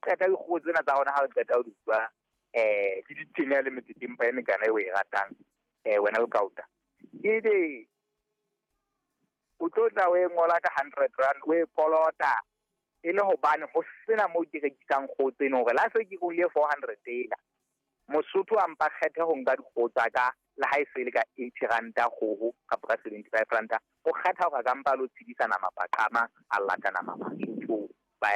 qeta dikgoho tsena tsa rona, ha re qeta ho di bua, ke ditenya le metsetempa e mekana e o e ratang, wena Lekauta. Ebe o tlo tla o e ngola ka R100, o e kolota e le hobane ho sena moo ke rekisang kgoho tseno, hore la se ke ruile 400 ela. Mosotho a mpa kgethe ho nka dikgoho tsa ka, le ha e se le ka R80 kgoho kapa ka R75, o kgetha hore a ka mpa lo tshedisa nama paqama, a lata nama Basotho ba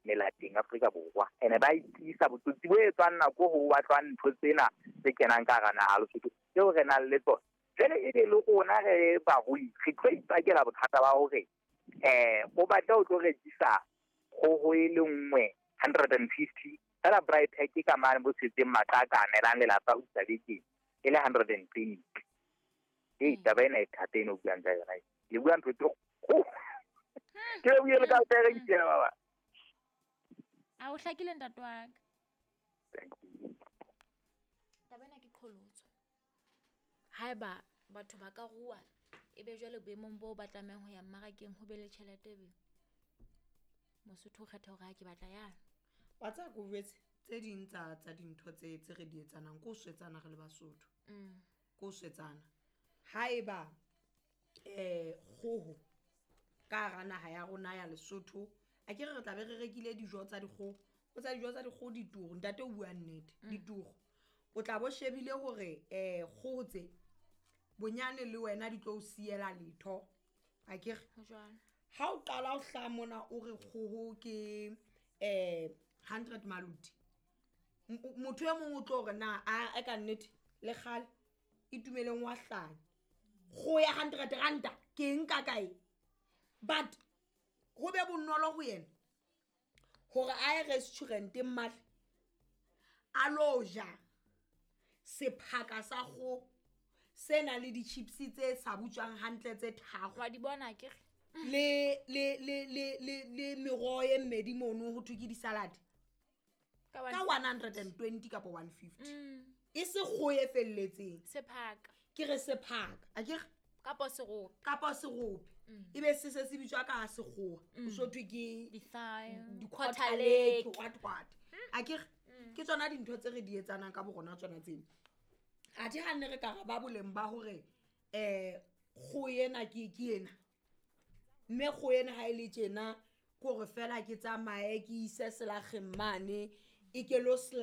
melateng Afrika Borwa. Ene ba itisa botsotsi bo etswang nako ho batlwang ntho tsena tse kenang ka hara naha Lesotho tseo re nang le tsona. Jwale e be le rona re barui, re tlo ipakela bothata ba hore o batle o tlo rekisa kgoho e le nngwe 150 fela, braai pack ka mane bo tshetseng maqaka a nelang lelapa ho isa bekeng e le 120. Ee, taba ena e thata eno o buang ka yona, le bua ntho tse kgolo. Ke le buile le ka o baba. A o hlakile, ntate wa ka. Taba ena ke qholotso. Haeba batho ba ka rua, e be jwale boemong boo ba tlamehang ho ya mmarakeng, ho be le tjhelete, be Mosotho o kgetha hore ha ke batla yana. Wa tseba, ke o jwetse tse ding tsa dintho tse re di etsanang ke ho swetsana re le Basotho. Ke ho swetsana. Haeba kgoho ka hara naha ya rona ya Lesotho, a ke re tla be re rekile dijo tsa dikgoho, o tsa dijo tsa dikgoho dituru, ntate o bua nnete, dituru. O tla bo shebile hore kgoho tse bonyane le wena di tlo o siela letho, a ke re? Ho jwalo. Ha o qala o hlaha mona o re kgoho ke 100 maluti, motho e mong o tlo hore na a ka nnete le kgale Itumeleng wa hlanya, kgoho ya R100 ke nka kae? But ho be bonolo ho yena hore a ye restauranteng male a lo ja sephaka sa kgoho se nang le di-chips tse sa butswang hantle tse tharo. Wa di bona, ke re? Le meroho e mmedi mono ho thwe ke di-salad ka ka 120 kapa 150. E se kgoho e felletseng. Sephaka. Ke re sephaka, a ke re? Kapa serope. Kapa serope, ebe se se se bitswa ka sekgowa, o so thwe ke di-thigh, di-quarter quarter leg, leg. What what, a ke re? Ke tsona dintho tse re di etsanang ka borona tsona tseno. Athe ha nne re ka ra ba boleng ba hore kgoho ena ke ena, mme kgoho ena ha e le tjena, ke hore fela ke tsamaye ke ise selakgeng mane e ke lo slice.